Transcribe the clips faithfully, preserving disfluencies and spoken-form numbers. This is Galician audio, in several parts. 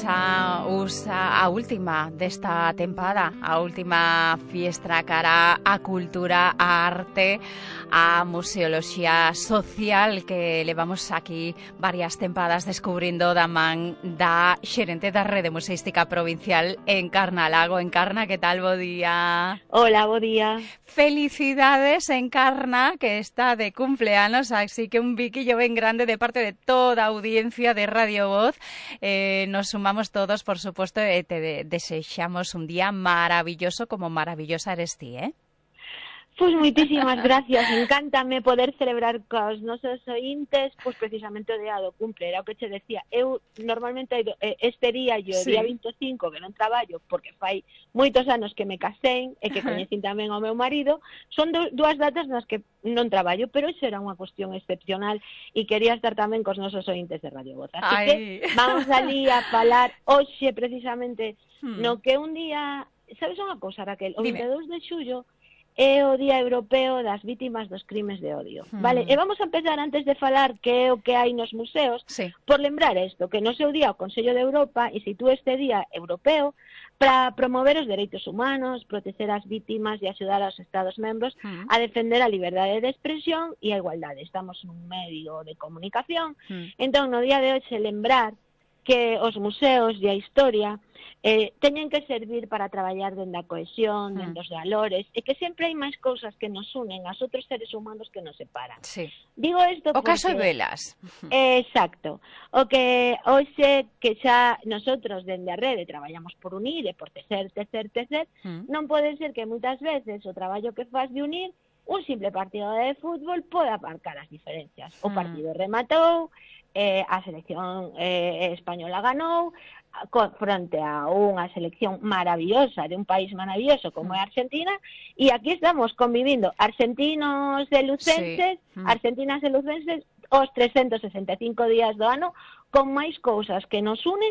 A, usa, a última desta tempada, a última fiestra cara a cultura, a arte, a museoloxía social que levamos aquí varias tempadas descubrindo da man da xerente da Rede Museística Provincial Encarna Lago. Encarna, que tal? Bo día. Hola, bo día. Felicidades, Encarna, que está de cumpleanos, así que un biquillo ben grande de parte de toda a audiencia de Radio Voz. Eh, nos sumamos todos, por supuesto, e te de desexamos un día maravilloso como maravillosa eres ti, eh? Pois moitísimas gracias, encántame poder celebrar cos nosos ointes, pois precisamente o día do cumple, era o que che decía. Eu normalmente este día, yo, sí. Día vinte e cinco, que non traballo, porque fai moitos anos que me casei e que coñecín tamén ao meu marido, son do, dúas datas nas que non traballo, pero iso era unha cuestión excepcional e quería estar tamén cos nosos ointes de Radio Voz. Así Ay. que vamos ali a falar hoxe precisamente hmm. no que un día, sabes unha cosa, Raquel, o vinte e dous de xullo é o Día Europeo das Vítimas dos Crimes de Odio, mm. vale? E vamos a empezar antes de falar que é o que hai nos museos, sí. por lembrar isto, que no seu día o Consello de Europa instituíu este Día Europeo para promover os dereitos humanos, proteger as vítimas e axudar aos Estados membros mm. a defender a liberdade de expresión e a igualdade. Estamos nun medio de comunicación, mm. entón no día de hoxe lembrar que os museos e a historia eh, teñen que servir para traballar dende a cohesión, mm. dende os valores, e que sempre hai máis cousas que nos unen aos outros seres humanos que nos separan. Sí. Digo isto o porque... caso de Velas. Eh, exacto. O que hoxe que xa nosotros dende a rede traballamos por unir e por tecer, tecer, tecer, mm. non pode ser que moitas veces o traballo que faz de unir un simple partido de fútbol pode aparcar as diferencias. O partido mm. rematou, eh, a selección eh, española ganou, fronte a unha selección maravillosa de un país maravilloso como é Argentina, e aquí estamos convivindo argentinos e lucenses, sí. argentinas e lucenses os trescentos sesenta e cinco días do ano, con máis cousas que nos unen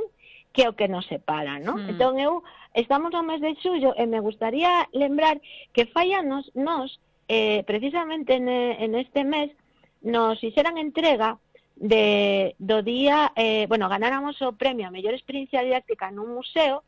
que o que nos separan, ¿no? Mm. Entón eu, estamos no mes de xullo e me gustaría lembrar que fai anos nos, eh, precisamente en, en este mes, nos fixeran entrega de do día, eh, bueno, ganáramos o premio a mellor experiencia didáctica nun museo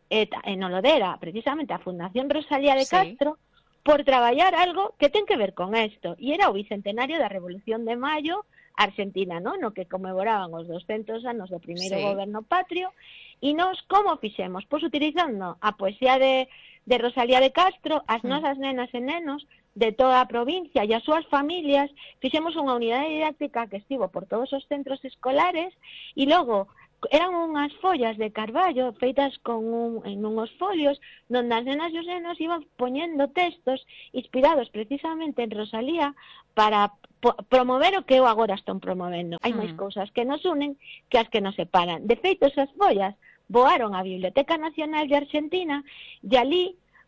eh, en Olodera, precisamente a Fundación Rosalía de Castro, sí. por traballar algo que ten que ver con esto, e era o bicentenario da Revolución de Maio Argentina, ¿no? No que conmemoraban os doscentos anos do primeiro sí. goberno patrio, e nós como fixemos? Pois utilizando a poesía de, de Rosalía de Castro, as mm. nosas nenas e nenos de toda a provincia e as súas familias, fixemos unha unidade didáctica que estivo por todos os centros escolares e logo eran unhas follas de carballo feitas con un, en unhos folios donde as nenas e os nenos iban poñendo textos inspirados precisamente en Rosalía para promover o que eu agora estou promovendo. Hai máis cousas que nos unen que as que nos separan. De feito, esas follas voaron á Biblioteca Nacional de Argentina e ali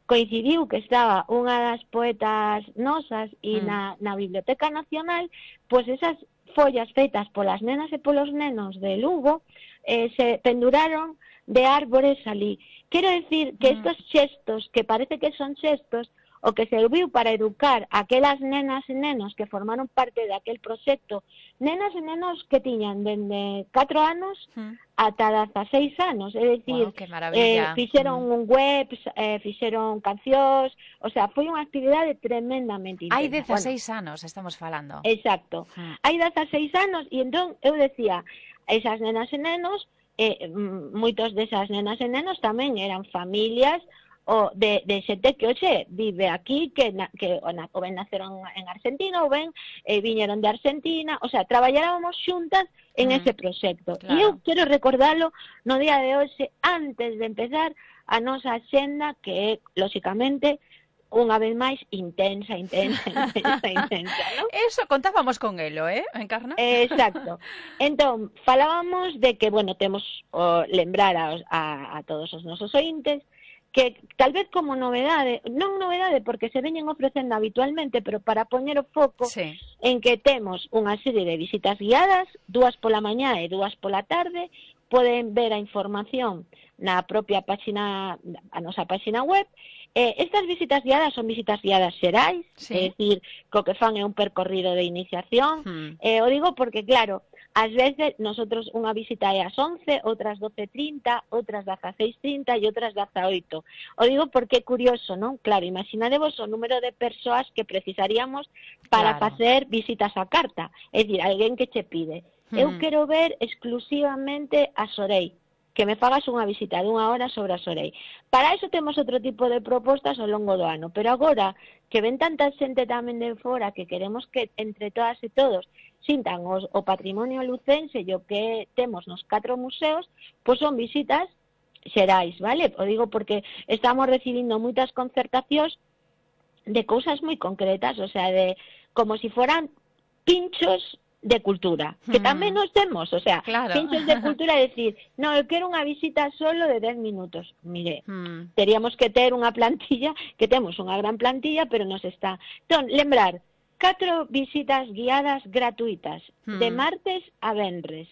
coincidiu que estaba unha das poetas nosas e mm. na, na Biblioteca Nacional, pois esas follas feitas polas nenas e polos nenos de Lugo eh, se penduraron de árbores ali. Quero decir que mm. estos xestos, que parece que son xestos, o que serviu para educar aquelas nenas e nenos que formaron parte daquel proxecto, nenas e nenos que tiñan dende catro anos mm. ata dezaseis anos, é dicir, wow, eh, fixeron mm. un web, eh, fixeron cancións, o sea, foi unha actividade tremendamente intensa. Hai dezaseis bueno, anos, estamos falando. Exacto, mm. hai dezaseis anos, e entón eu decía, esas nenas e nenos, eh, moitos desas nenas e nenos tamén eran familias o de, de xente que hoxe vive aquí, que, na, que o, na, o ben naceron en Argentina, ou ben eh, viñeron de Argentina, o sea, traballábamos xuntas en mm, ese proxecto. Claro. E eu quero recordarlo no día de hoxe, antes de empezar a nosa axenda, que é, lóxicamente, unha vez máis intensa, intensa, intensa, intensa, ¿no? Eso contábamos con elo, eh, Encarna? Exacto. Entón, falábamos de que, bueno, temos o lembrar a, a, a todos os nosos ointes que tal vez como novedade, non novedade porque se veñen ofrecendo habitualmente, pero para poñer o foco sí. en que temos unha serie de visitas guiadas, dúas pola mañá e dúas pola tarde, poden ver a información na propia páxina, a nosa páxina web. Eh, estas visitas guiadas son visitas guiadas xerais, sí. é dicir, co que fan é un percorrido de iniciación, hmm. eh, o digo porque, claro, ás veces nosotros unha visita é ás once, outras doce e trinta, outras dezaseis e trinta e outras dezaoito. O digo porque é curioso, non? Claro, imaginadevos o número de persoas que precisaríamos para Claro. facer visitas á carta. É dicir, alguén que che pide, eu Mm. quero ver exclusivamente a Sorei, que me fagas unha visita dunha hora sobre a Sorei. Para iso temos outro tipo de propostas ao longo do ano, pero agora que ven tanta xente tamén de fora que queremos que entre todas e todos sintan os, o patrimonio lucense e o que temos nos catro museos, pois son visitas xerais, vale? O digo porque estamos recibindo moitas concertacións de cousas moi concretas, o sea, de como si fueran pinchos de cultura, que tamén nos temos, o sea, claro. pinchos de cultura é decir, no, eu quero unha visita solo de dez minutos. Mire, Mm. teríamos que ter unha plantilla, que temos unha gran plantilla, pero nos está. Entón, lembrar, catro visitas guiadas gratuitas, Mm. de martes a venres.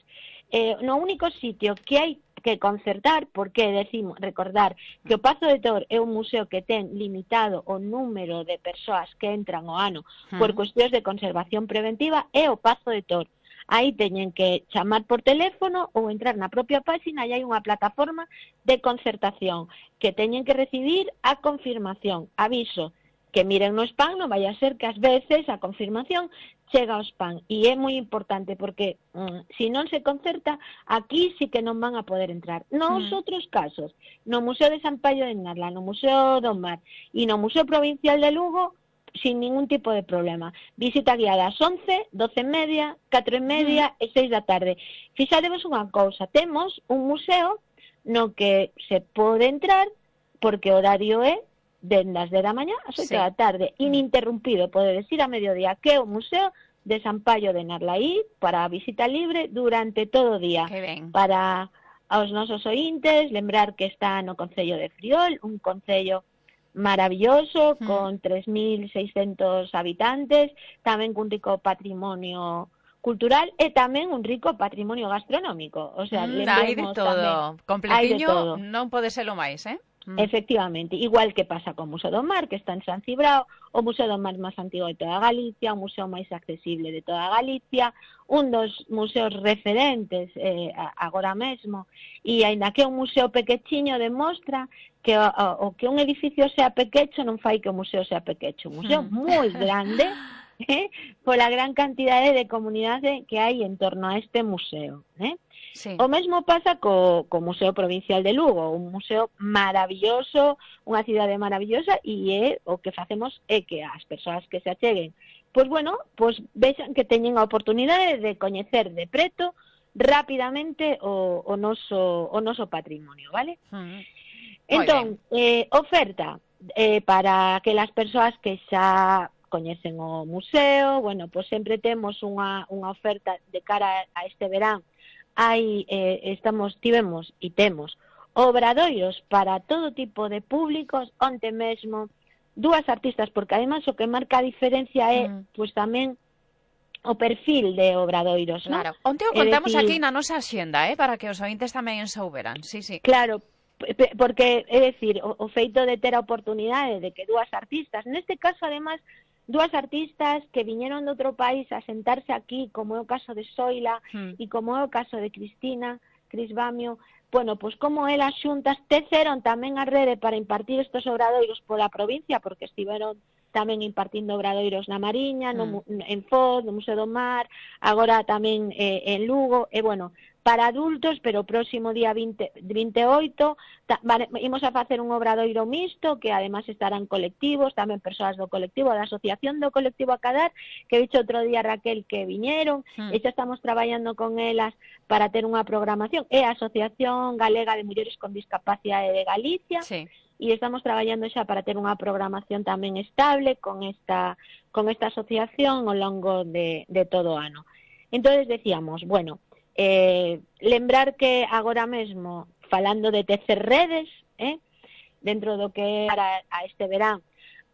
Eh, no único sitio que hai que concertar, porque decimos, recordar que o Pazo de Tor é un museo que ten limitado o número de persoas que entran ao ano Mm. por cuestións de conservación preventiva, é o Pazo de Tor. Aí teñen que chamar por teléfono ou entrar na propia páxina e hai unha plataforma de concertación que teñen que recibir a confirmación. Aviso, que miren no spam, non vai a ser que ás veces a confirmación chega ao spam. E é moi importante porque mm, se non se concerta, aquí sí que non van a poder entrar. Nos Mm. outros casos, no Museo de San Paio de Narla, no Museo do Mar e no Museo Provincial de Lugo, sin ningún tipo de problema. Visita guiada ás once, doce e media, catro e media e seis da tarde. Fixadevos unha cousa, temos un museo no que se pode entrar porque o horario é dende as dez da mañá ás oito Sí. da tarde, ininterrumpido, podedes ir a mediodía, que é o Museo de San Paio de Narlaí para a visita libre durante todo o día. Que ben. Para aos nosos oíntes, lembrar que está no Concello de Friol, un concello maravilloso, Mm. con tres mil seiscentos habitantes, tamén cun rico patrimonio cultural e tamén un rico patrimonio gastronómico. O sea, Mm, hai de lembremos todo. tamén, hai de Completiño todo. non pode ser o máis, eh? Mm. Efectivamente, igual que pasa co Museo do Mar, que está en San Cibrao, o Museo do Mar máis antigo de toda Galicia, o museo máis accesible de toda Galicia, un dos museos referentes eh, agora mesmo, e aínda que é un museo pequechiño demostra que o, o que un edificio sea pequecho non fai que o museo sea pequecho, un museo Mm. moi grande, eh, pola gran cantidade de comunidade que hai en torno a este museo, eh? Sí. O mesmo pasa co, co Museo Provincial de Lugo, un museo maravilloso, unha cidade maravillosa, e é o que facemos é que as persoas que se acheguen, pois bueno, pois vexan que teñen a oportunidade de coñecer de preto rapidamente o, o, noso, o noso patrimonio, vale? Mm. Entón, eh, oferta eh, para que as persoas que xa coñecen o museo, bueno, pois sempre temos unha, unha oferta de cara a este verán. Hai, eh, estamos, tivemos e temos obradoiros para todo tipo de públicos, onte mesmo dúas artistas, porque además o que marca a diferencia é, Mm. pois tamén o perfil de obradoiros, non? Claro. Onte o É contamos dicir, aquí na nosa axenda, eh, para que os ointes tamén souberan. Sí, sí. Claro, porque, é dicir, o, o feito de ter a oportunidade de que dúas artistas, neste caso, además, dúas artistas que viñeron de outro país a sentarse aquí, como é o caso de Soila Mm. e como é o caso de Cristina, Cris Bamio, bueno, pois como elas xuntas teceron tamén a rede para impartir estes obradoiros pola provincia, porque estiveron tamén impartindo obradoiros na Mariña, no, Mm. en Foz, no Museo do Mar, agora tamén eh, en Lugo, e bueno, para adultos, pero o próximo día vinte, vinte e oito ta, vale, imos a facer un obradoiro mixto, que además estarán colectivos, tamén persoas do colectivo, da Asociación do Colectivo Acadar, que dicho outro día Raquel que viñeron, Mm. e xa estamos traballando con elas para ter unha programación, é a Asociación Galega de Mulleres con Discapacidade de Galicia, Sí. e estamos traballando xa para ter unha programación tamén estable con esta, con esta asociación ao longo de, de todo o ano. Entonces decíamos, bueno, eh, lembrar que agora mesmo, falando de tecer redes, eh, dentro do que para a este verán,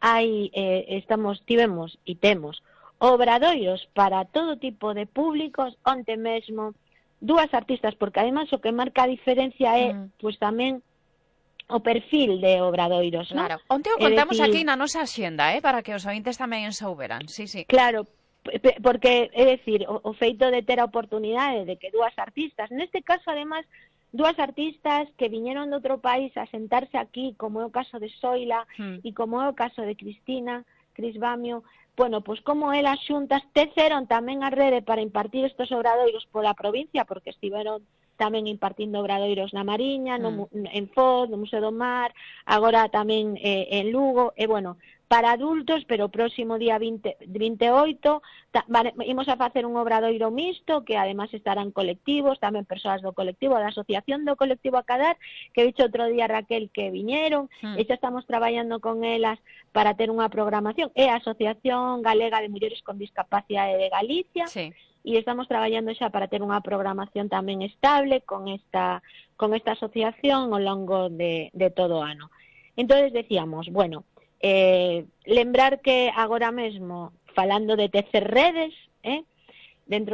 hai, eh, estamos, tivemos e temos obradoiros para todo tipo de públicos, onte mesmo dúas artistas, porque además o que marca a diferencia é, Mm. pois tamén o perfil de obradoiros, non? Claro. Onte o É contamos dicir, aquí na nosa axenda, eh, para que os ointes tamén souberan. Sí, sí. Claro, porque, é dicir, o, o feito de ter a oportunidade de que dúas artistas, neste caso, además, dúas artistas que viñeron de outro país a sentarse aquí, como é o caso de Soila mm. e como é o caso de Cristina, Cris Bamio, bueno, pois como elas xuntas teceron tamén a rede para impartir estes obradoiros pola provincia, porque estiveron tamén impartindo obradoiros na Mariña, no, mm. en Foz, no Museo do Mar, agora tamén eh, en Lugo, e bueno, para adultos, pero o próximo día vinte, vinte e oito ta, vale, imos a facer un obradoiro mixto que además estarán colectivos, tamén persoas do colectivo, da asociación do colectivo Acadar, que dicho outro día Raquel que viñeron, mm. e xa estamos traballando con elas para ter unha programación, é a Asociación Galega de Mulleres con Discapacidade de Galicia, sí. E estamos traballando xa para ter unha programación tamén estable con esta, con esta asociación ao longo de, de todo o ano. Entonces decíamos, bueno, Eh, lembrar que agora mesmo, falando de tecer redes, eh, dentro